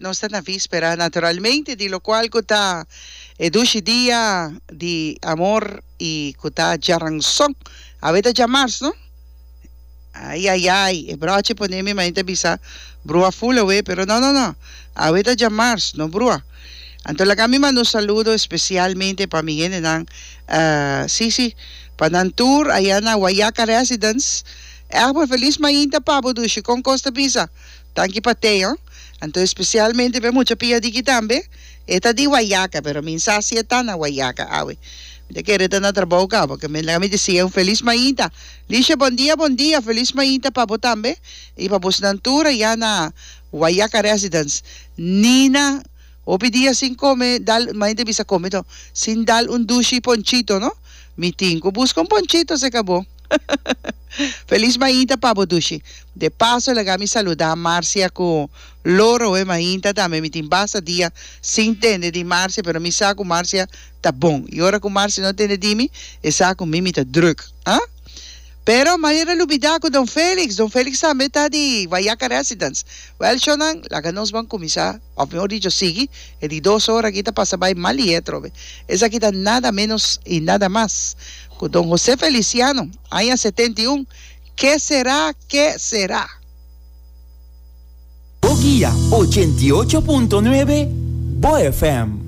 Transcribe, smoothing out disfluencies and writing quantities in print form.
Nos ta na víspera naturalmente di locual cu ta e dushi dia di amor y cu ta djaranson. Awe ta djamars, no? Ay ay ay, e broche pone mi mainta bisa brua full awe, pero no no no, awe ta djamars, no brua. Anto laga mi manda un saludo especialmente pa mi hendenan, si si, pa nan tur aya na Wayaca Residence. Egbert, feliz mainta pa bo dushi, con cos ta bisa? Danki pa te, ho. Anto especialmente pa e mucha pia diki tambe. E ta di Wayaca, pero mi sa si e ta na Wayaca awe. Mi ta kere e ta na trabou caba, ke mi laga mi decia un feliz mainta. Lisha, bon dia, bon dia, feliz mainta pa bo tambe y pa bosnan tur aya na Wayaca Residence. Nina, hopi dia sin come dal, mainta bisa come to, sin dal un dushi ponchito, no? Mi tin cu busca un ponchito seca bo. Feliz mainta pa bo dushi. De paso laga mi saluda Marcia cu Loro e mainta tambe mi tin basta dia sin tende di Marcia pero mi sa cu Marcia ta bon y ora cu Marcia no tende di mi e sa cu mi mi ta druk ah pero manera lubida cu Don Felix Don Felix tambe ta di Wayaca Residence wel shownan laga nos ban cuminsa of mihor dicho sigui e di dos ora aki ta pasa bay mal y atrobe esaki ta nada menos y nada mas cu Don Jose Feliciano aña 71 Ke será, ke será? Bo guia 88.9 Bo FM.